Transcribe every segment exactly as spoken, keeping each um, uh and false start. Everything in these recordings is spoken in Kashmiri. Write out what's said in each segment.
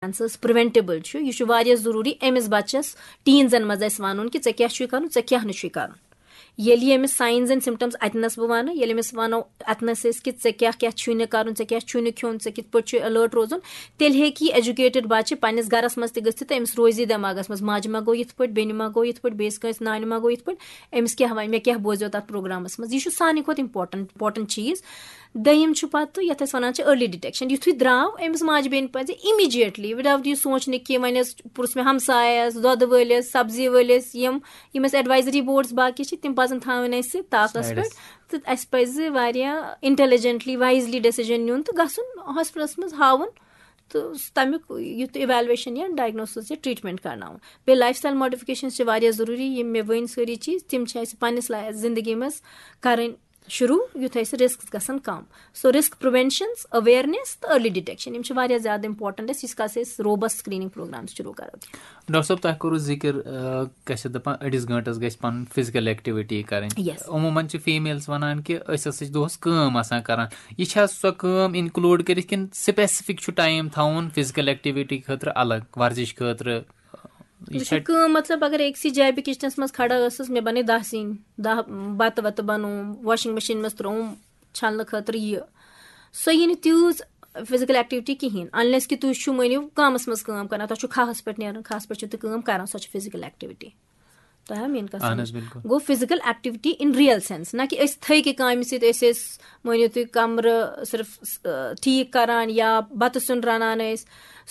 کینسرس پریونٹیبل چھُ، یہِ چھُ واریاہ ضروٗری أمِس بچس، ٹیٖنزن منٛز اَسہِ وَنُن کہِ ژےٚ کیٛاہ چھُے کَرُن، ژےٚ کیٛاہ نہٕ چھُے کَرُن۔ ییٚلہِ یہِ أمِس ساینز اینڈ سمپٹمز اَتنَس بہٕ وَنہٕ، ییٚلہِ أمِس وَنو، اَتنَس أسۍ کہِ ژےٚ کیٛاہ کیٛاہ چھُے نہٕ کَرُن، ژےٚ کیٛاہ چھُے نہٕ کھیوٚن، ژےٚ کِتھ پٲٹھۍ چھُے الرٹ روزُن، تیٚلہِ ہیٚکہِ یہِ ایجوکیٹڈ بَچہِ پنٛنِس گَرَس منٛز تہِ گٔژھِتھ تہٕ أمِس روزِ یہِ دٮ۪ماغَس منٛز، ماجہِ ما گوٚو یِتھ پٲٹھۍ، بیٚنہِ ما گوٚو یِتھ پٲٹھۍ، بیٚیِس کٲنٛسہِ نانہِ ما گوٚو یِتھ پٲٹھۍ، أمِس کیٛاہ وَنہِ، مےٚ کیٛاہ بوزیو تَتھ پروگرامَس منٛز۔ یہِ چھُ سانہِ کھۄتہٕ امپورٹنٹ، امپورٹنٹ چیٖز۔ دوٚیِم چھُ پَتہٕ یَتھ أسۍ وَنان چھِ ارلی ڈِٹیکشن۔ یُتھُے درٛاو، أمِس ماجہِ بیٚنہِ پَزِ اِمیٖڈیٹلی، without یہِ سونٛچنہٕ کہِ وۄنۍ ٲس پُرُس مےٚ ہمسایَس، دۄدٕ وٲلِس، سبزی وٲلِس، یِم، یِم اَسہِ ایڈوایزری بورڈز باقٕے چھِ، تِم پَزَن تھاوٕنۍ اَسہِ تاپَس سایڈَس۔ پٮ۪ٹھ۔ تہٕ اَسہِ پَزِ واریاہ انٹیلیجنٹلی، وایزلی ڈیسیجن نیُن تہٕ گژھُن ہاسپٹلَس منٛز ہاوُن تہٕ تَمیُک یُتھ ایویلویشن یا ڈائگنوسس یا ٹریٹمنٹ کرناوُن۔ بیٚیہِ لایف سٹایل ماڈیفکیشنز چھِ واریاہ ضروٗری، یِم مےٚ ؤنۍ سٲری چیٖز، تِم چھِ اَسہِ پننِس لا-، زندگی منٛز کرٕنۍ شروٗع، یُتھ اَسہِ رسکس گژھن کم۔ سو رسک پریونشنز، اویرنیس تہٕ ارلی ڈِٹیکشن، یِم چھِ واریاہ زیادٕ امپورٹنٹ اَسہِ، ییٖتِس کالس أسۍ روبسٹ سکریننگ پروگرامز شروٗع کرو۔ ڈاکٹر صٲب، تۄہہِ کوٚروٕ ذِکر، آ، کیٛاہ چھِ دَپان، أڑِس گٲنٛٹَس گژھِ پَنُن فِزِکَل ایکٹیوِٹی کَرٕنۍ۔ Yes۔ عموٗمَن چھِ فیٖمیلز وَنان کہِ أسۍ ہسا چھِ دۄہَس کٲم آسان کَران۔ یہِ چھا سۄ کٲم اِنکلوٗڈ کٔرِتھ کِنہٕ سپیسفک چھُ ٹایم تھاوُن فِزِکَل ایکٹیوِٹی خٲطرٕ الگ، ورزِش خٲطرٕ؟ یہِ یہِ چھِ چھا کٲم، مطلب، اگر أکسٕے جایہِ بہٕ کچنس منٛز کھڑا ٲسٕس، مےٚ بَنٲے دَہ سِنۍ، دَہ بَتہٕ وَتہٕ بَنووُم، واشنگ مشین منٛز ترٛووُم چھَلنہٕ خٲطرٕ یہِ، سۄ یی نہٕ تیٖژ فِزِکَل ایکٹیوِٹی کِہیٖنۍ، unless کہِ تُہۍ چھِو مٲنِو کامَس منٛز کٲم کَران، تۄہہِ چھُو کھاہَس پٮ۪ٹھ نیرُن، کھاہَس پٮ۪ٹھ چھِو تُہۍ کٲم کَران، سۄ چھِ فِزِکَل ایکٹیوِٹی۔ تۄہہِ آ میٛٲنۍ کَتھ اَہَن سَمٕجھ؟ حظ، بِلکُل۔ گوٚو فِزِکَل ایکٹیوِٹی in real sense، نہ کہِ أسۍ تھٔکۍ کامہِ سۭتۍ، أسۍ ٲسۍ مٲنِو تُہۍ کَمرٕ صرف، آ، ٹھیٖک کَران یا بَتہٕ سیُن رَنان ٲسۍ،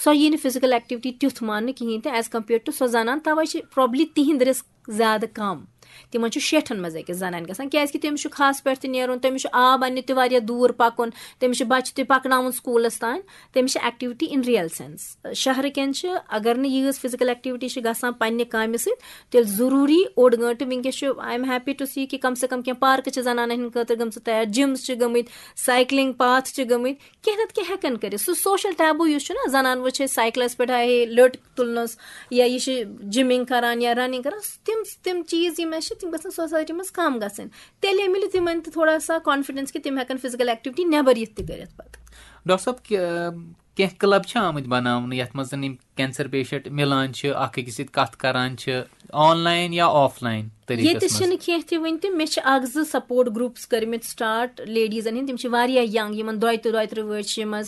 سۄ یی نہٕ فِزِکَل ایکٹیوِٹی تیُتھ ماننہٕ کِہیٖنۍ تہِ as compared to سۄ زَنان، تَوَے چھِ probably تِہِنٛد رِسک زیادٕ کَم۔ تِمن چھُ شیٹھن منٛز أکِس زنانہِ گژھان، کیازِ کہِ تٔمِس چھُ کھاہس پٮ۪ٹھ تہِ نیرُن، تٔمِس چھُ آب اننہِ تہِ واریاہ دوٗر پکُن، تٔمِس چھِ بچہِ تہِ پکناوُن سکوٗلس تام، تٔمِس چھِ ایکٹیوٹی in real sense۔ شہرٕ کٮ۪ن چھِ، اگر نہٕ ییٖژ فزیکل ایکٹیوٹی چھِ گژھان پننہِ کامہِ سۭتۍ، تیٚلہِ ضروٗری اوٚڑ گٲنٛٹہٕ۔ وٕنکیٚس چھُ، I am happy to see کہِ کم سے کم کینٛہہ پارکہٕ چھِ زنانن ہٕنٛدِ خٲطرٕ گٔمژٕ تیار، جمز چھِ گٔمٕتۍ، سایکلنگ پاتھ چھِ گٔمٕتۍ، کینٛہہ نتہٕ کینٛہہ ہٮ۪کن کٔرِتھ۔ سُہ سوشل ٹیبو یُس چھُنہ، زنان وٕچھ أسۍ سایکلس پٮ۪ٹھ، ہے لٔٹ تُلنس، یا یہِ چھِ جمنگ کران یا رننگ کران، تِم تِم چیٖز یِم اَسہِ چھِ، تِم گژھن سوسایٹی منٛز کم گژھٕنۍ۔ تیٚلے مِلہِ تِمن تہِ تھوڑا سا کانفیڈنس کہِ تِم ہٮ۪کن فزیکل ایکٹیوٹی نٮ۪بر یِتھ تہِ کٔرِتھ پتہٕ۔ ڈاکٹر صٲب، کہِ-، کینٛہہ کلب چھِ آمٕتۍ بناونہٕ، یتھ منٛز زن یِم کینسر پیشنٹ مِلان چھِ، اکھ أکِس سۭتۍ کتھ کران چھِ، آن لاین یا آف لاین طریٖقس ییٚتہِ منٛز؟ چھِنہٕ کینٛہہ تہِ وٕنہِ تہِ۔ مےٚ چھِ اکھ زٕ سپورٹ گروپس کٔرمٕتۍ سٹارٹ لیڈیزن ہٕنٛدۍ، تِم چھِ واریاہ ینگ، یِمن دۄیہِ تہٕ دۄیہِ ترٕٛہ وٲنٛسہِ چھِ یِمن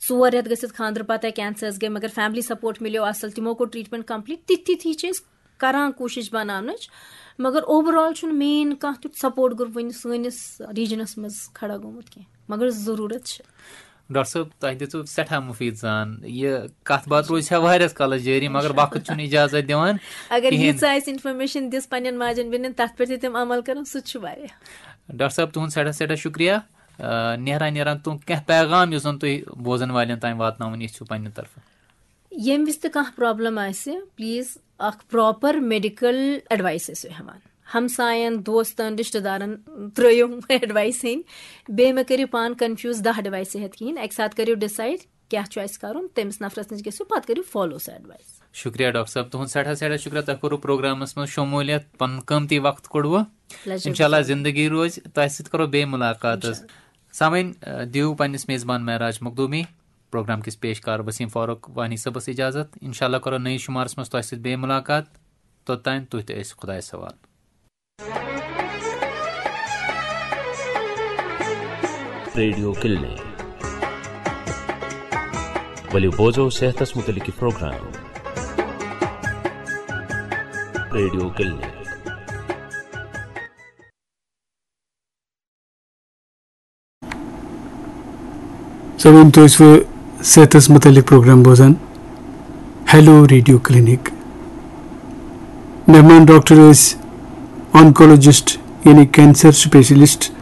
ژور رٮ۪تھ گٔژھِتھ خانٛدرٕ پتہٕ کینسرس گٔے، مگر فیملی سپورٹ مِلیو اصل، تِمو کوٚر ٹریٹمنٹ کمپلیٖٹ۔ تِتھۍ تِتھۍ چھِ أسۍ کران کوٗشش بناونٕچ، مگر اوور آل چھُنہٕ مین کانٛہہ تیُتھ سپورٹ گروپ وٕنہِ سٲنِس ریجنس منٛز کھڑا گوٚمُت کینٛہہ، مگر ضروٗرت چھِ۔ ڈاکٹر صٲب، تۄہہِ دِژوٕ سٮ۪ٹھاہ مُفیٖد زان۔ یہِ کتھ باتھ روزِ ہا واریاہس کالس جٲری، مگر وقت چھُنہٕ اجازت دِوان اگر کِہیٖنۍ۔ ییٖژ آسہِ انفارمیشن دِژ پننٮ۪ن ماجن بیٚنٮ۪ن، تتھ پٮ۪ٹھ تہِ تِم عمل کرن، سُہ تہِ چھُ واریاہ۔ ڈاکٹر صٲب، تُہُنٛد سٮ۪ٹھاہ سٮ۪ٹھاہ شُکریہ، آ، نیران نیران تُہُنٛد کینٛہہ پیغام یُس زن تُہۍ بوزن والٮ۪ن تام واتناوُن یژھِو پننہِ طرفہٕ۔ ییٚمہِ وِزِ تہِ کانٛہہ پرابلم آسہِ، پلیز اکھ پراپر میڈیکل ایڈوایس ٲسِو ہٮ۪وان۔ ہمساین، دوستن، رشتہٕ دارن ترٲیِو ایڈوایس ہیٚنۍ۔ بیٚیہِ مہ کٔرِو پان کنفیوز دَہ ایڈوایسہٕ ہٮ۪تھ کِہیٖنۍ۔ اکہِ ساتہٕ کٔرِو ڈِسایڈ کیٛاہ چھُ اَسہِ کَرُن، تٔمِس نفرس نِش گٔژھِو، پتہٕ کٔرِو فالو سۄ ایڈوایس۔ شُکریہ ڈاکٹر صٲب، تُہُنٛد سٮ۪ٹھاہ سٮ۪ٹھاہ شُکریہ، تۄہہِ کوٚروٕ پروگرامس منٛز شموٗلیت، پنُن قۭمتی وقت کوٚڑوٕ۔ Pleasure انشاءاللہ was all۔ زندگی روزِ، تۄہہِ سۭتۍ کرو بیٚیہِ مُلاقات حظ۔ انشاءاللہ۔ سامعین، ٲ، دِیِو پننِس میزبان معراج مخدومی، پروگرام کِس پیشکار وسیم فاروق وانی صٲبس اجازت۔ انشاءاللہ کرو نٔیِس شُمارس منٛز تۄہہِ سۭتۍ بیٚیہِ مُلاقات۔ توٚتام تُہۍ تہِ ٲسِو خۄدایس حوالہٕ۔ Radio clinic. ؤلِو بوزو صحتس متعلق یہِ پروگرام۔ Radio clinic. سامعین، تُہۍ ٲسوٕ صحتس متعلق پروگرام بوزان۔ Hello radio clinic. مہمان ڈاکٹر ٲسۍ آنکولوجسٹ یعنی کینسر سپیشلسٹ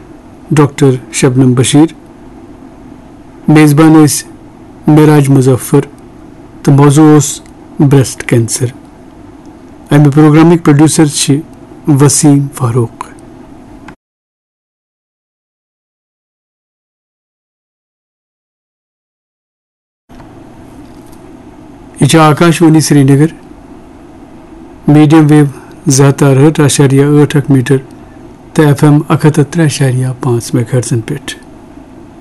ڈاکٹر شبنم بشیر۔ میزبان ٲسۍ معراج مظفر تہٕ موضوع اوس بریسٹ کینسر۔ امہِ پروگرامٕکۍ پروڈیوسر چھِ وسیم فاروق۔ یہِ چھِ آکاش وانی سرینگر، میڈیم ویو زٕ ہتھ تہٕ ارہٲٹھ اَشاریہ ٲٹھ اکھ میٹر تہٕ ایف ایم اکھ ہتھ تہٕ ترٛےٚ اَشاریہ پانٛژھ میگا ہرٹزن پٮ۪ٹھ۔